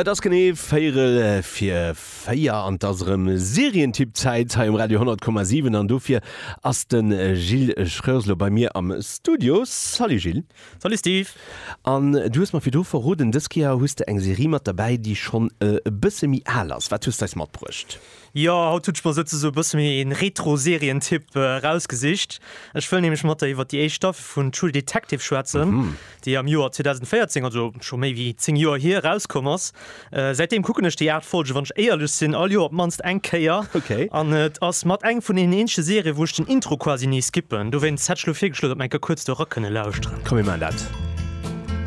Et ass genee véierel fir 4 an et ass erëm Serientipp-Zäit hei um Radio 100,7 an dofir ass de Gilles Schreurs elo bei mir am Studio. Salut Gilles. Salut Steve. An du hues mer virdru verroden, dës Kéier hues de eng Serie mat derbäi, déi schonn e bësse méi al ass. Wat hues de eis matbruecht? Jo, haut hunn ech mer souzesoe e bësse méi een Retro-Serientipp erausgesicht. Ech wëll nämlech mat der iwwer déi éischt Staffel vun True Detective schwätzen, déi am Joer 2014, also scho méi wéi 10 Joer hier, erauskomm ass. Säitdeem kucken ech déi 8 Folgen, wann ech éierlech sinn, all Joer op d'mannst eng Kéier. An et ass mat eng vun deenen eenzege Serien, wou ech den Intro quasi ni skippen. Dowéinst hätt ech elo virgeschloen, datt mer eng Kéier kuerz do era kënne lauschteren. Komm mir maachen dat.